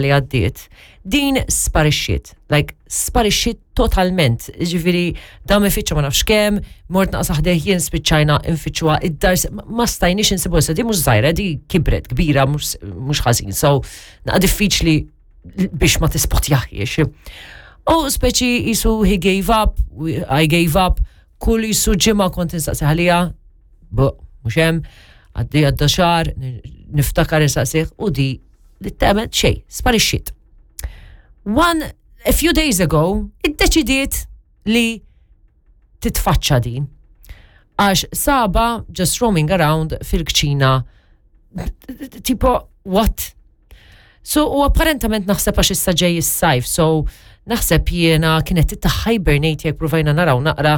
li għaddiet, din sparixxiet, like sparixxiet totalment, ġifiri dam ifittxa ma nafx kemm, mort naqsa ħdejh jien spiċċajna nfittxuha id-dar, ma stajniex insibu issa di mhux żgħira, di kibret kbira mhux ħażin, so naqa' diffiċli biex ma tispotjaħiex. U speċi jisu he gave up, I gave up, kull jisu ġimgħa kont insaqsi ħalija, mhux hemm, għaddi għadda xahar, niftakar insaqsih u di li tagħmel xejn, sparixxiet. One, a few days ago, iddeċidiet li titfaċċa din. Għax saba just roaming around fil-kċina tipo, what? So, u apparentament naħseb għax issa ġej is-sajf, so naħseb jiena kienet ta' hibernate jekk provajna naraw naqra,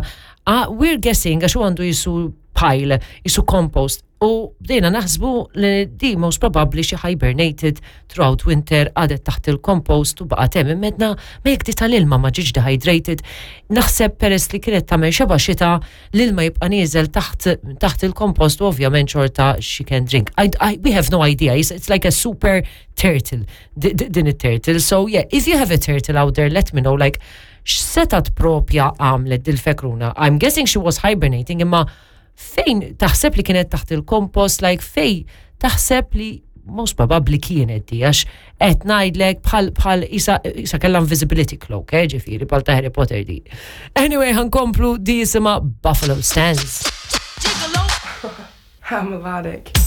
ah, we're guessing għax u għandu jisu pile, jisu compost, U bdejna naħsbu li di most probably xi hibernated throughout winter għadet taħt il-compost u baqgħet hemm immedna ma jekk di tal-ilma ma ġietx dehydrated. Naħseb peress li kienet tagħmel xeba xita l-ilma jibqa' nieżel taħt taħt il-compost u ovvjament xorta she can drink. I, I, we have no idea. It's, it's like a super turtle din it-turtle. So yeah, if you have a turtle out there, let me know like x'setat propja għamlet dil-fekruna. I'm guessing she was hibernating imma Fejn taħseb li kienet taħt il-kompost, like fej taħseb li most probably kienet di, għax qed ngħidlek bħal bħal isa, isa kellha invisibility cloak, eh, ġifieri bħal ta' Harry Potter di. Anyway, ħankomplu di jisimha Buffalo Stance. I'm melodic.